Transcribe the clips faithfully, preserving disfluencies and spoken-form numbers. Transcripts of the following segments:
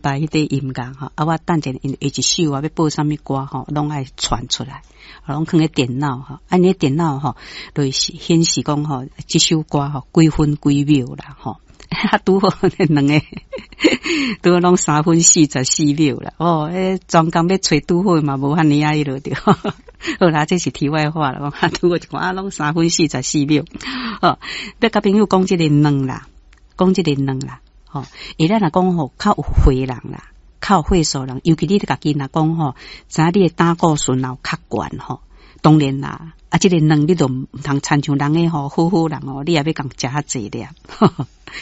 排彼个音樂吼，啊，我等者因下一首啊，欲播啥物歌吼，攏愛傳出來，攏囥佇電腦吼，啊，你電腦吼，就是顯示講吼，這首歌吼幾分幾秒啦吼，啊，拄好兩个，拄好攏三分四十四秒啦，哦，彼專工欲揣拄好嘛，無遐爾仔彼落著。好啦，這是題外話啦，我拄好一看啊，攏三分四十四秒，吼，欲佮朋友講這個卵啦，講這個卵啦。吼，伊咱若講吼，較有歲人啦，較有歲數人，尤其你家己若講吼，知影你的膽固醇若有較懸吼，當然啦，啊，這個卵你就毋通親像人的吼，好好人哦，你也欲共食較濟粒，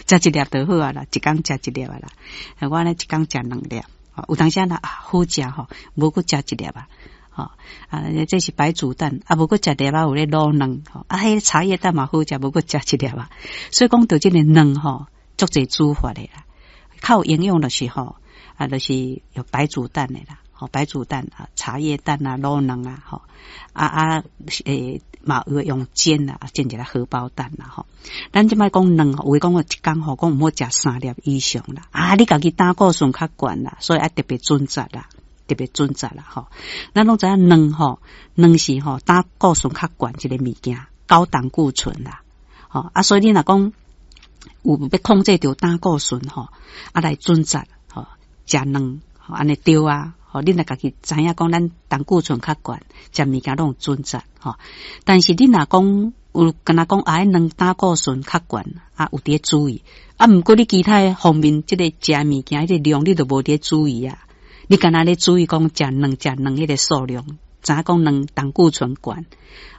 食一粒就好啊啦，一工食一粒啊啦，我呢一工食兩粒，有當時若啊好食吼，無閣食一粒啊，吼啊，這是白煮蛋，啊無閣食粒仔有咧滷卵，吼啊，彼茶葉蛋嘛好食，無閣食一粒啊，所以講著這个卵吼，足濟煮法的啦，較有營養就是吼，啊，就是有白煮蛋的啦，吼，白煮蛋啊，茶葉蛋啊，滷卵啊，吼，啊啊，欸，嘛有用煎啊，煎一个荷包蛋啦，吼。咱這擺講卵，有的講一工吼，講毋好食三粒以上啦。啊，你家己膽固醇較懸啦，所以愛特別準則啦，特別準則啦，吼。咱攏知影卵吼，卵是吼膽固醇較懸一个物件，高膽固醇啦，吼啊，所以你若講有欲控制著膽固醇吼，啊來準則吼，食卵吼按呢對啊，吼，你若家己知影講咱膽固醇較懸，食物件攏有準則吼。但是你若講有敢若講啊，彼卵膽固醇較懸啊，有佇咧注意啊。毋過你其他方面，這個食物件彼個量，你都無佇咧注意啊。你敢若咧注意講食卵食卵彼個數量，知影講卵膽固醇懸。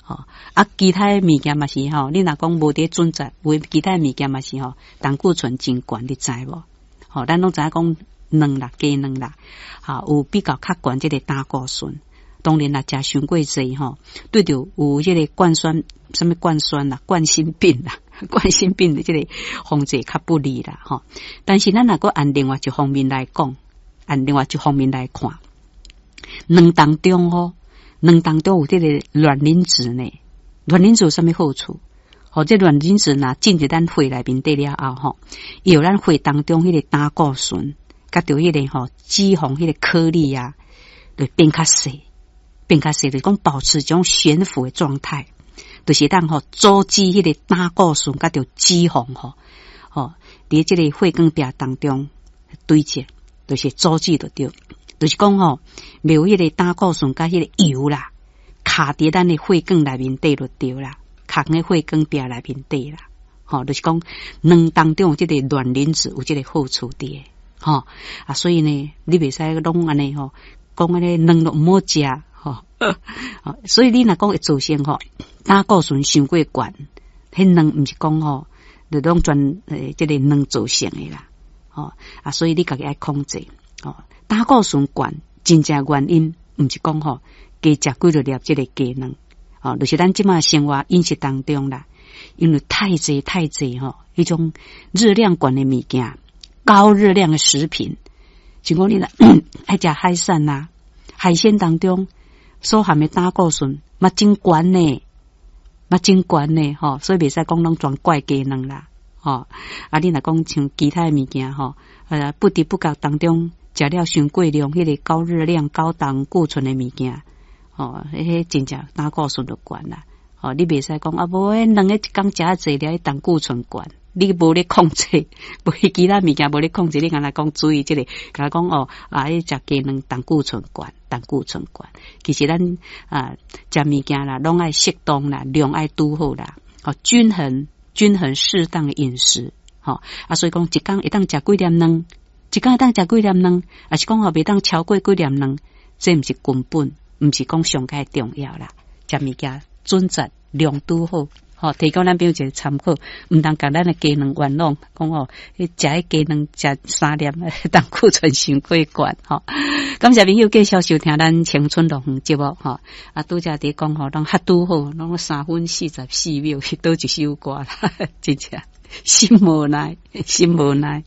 吼啊，其他的物件嘛是吼，你若講無佇準則，有其他的物件嘛是吼，膽固醇真懸，你知無？吼，咱攏知影講卵啦，雞卵啦，吼，有比較較懸這个膽固醇。當然啦，食傷過濟吼，對著有這个冠酸，啥物冠酸啦，冠心病啦，冠心病的這个防治較不利啦，吼。但是咱若閣按另外一方面來講，按另外一方面來看，卵當中吼，卵當中有這个卵磷脂呢，卵磷脂有啥物好處？吼，這卵磷脂若進入咱血內面底了後，吼，伊予咱血當中彼个膽固醇，佮著彼个吼脂肪彼个顆粒啊，就變較細，變較細，就是講保持這種懸浮的狀態，就是當吼阻止彼个膽固醇佮著脂肪吼，吼佇這个血管壁當中堆積，就是阻止就對。就是講吼，袂有彼个膽固醇佮彼个油啦，卡佇咱的血管內面底就對啦，卡佇血管壁內面底啦，吼，就是講卵當中有這个卵磷脂有這个好處佇，吼啊，所以呢，你袂使攏按呢吼，講按呢卵攏毋好食，吼，所以你若講會造成吼膽固醇傷過懸，彼卵毋是講吼，就攏全欸這个卵造成的啦，吼啊，所以你家己愛控制，吼。膽固醇懸，真正原因毋是講吼，加食幾落粒這个雞卵，吼，就是咱這馬生活飲食當中啦，因為太濟太濟吼，彼種熱量懸的物件，高熱量的食品，像講你若愛食海產啦，海鮮當中所含的膽固醇嘛真懸呢，嘛真懸呢，吼，所以袂使講攏全怪雞卵啦，吼，啊，你若講像其他的物件吼，呃，不知不覺當中食了傷過量，彼个高熱量、高膽固醇的物件，吼，彼真正膽固醇就懸啦。吼，你袂使講啊，無彼卵一工食濟了，膽固醇懸，你無咧控制，無其他物件無咧控制，你敢若講注意這个，敢若講哦，啊，彼食雞卵膽固醇懸，膽固醇懸。其實咱啊，食物件啦，攏愛適當啦，量愛拄好啦，吼，均衡、均衡適當的飲食，吼啊，所以講一工會當食幾粒卵，一工會當食幾粒卵，抑是講吼袂當超過幾粒卵，這毋是根本，毋是講上蓋重要啦。食物件準則量拄好，吼，提供咱朋友一个參考，毋通共咱的雞卵冤枉，講吼，彼食彼雞卵食三粒，膽固醇傷過懸，吼。感謝朋友繼續收聽咱青春樂園節目，吼。啊，拄才佇講吼，攏較拄好，攏三分四十四秒，佗一首歌啦，真正心無奈，心無奈。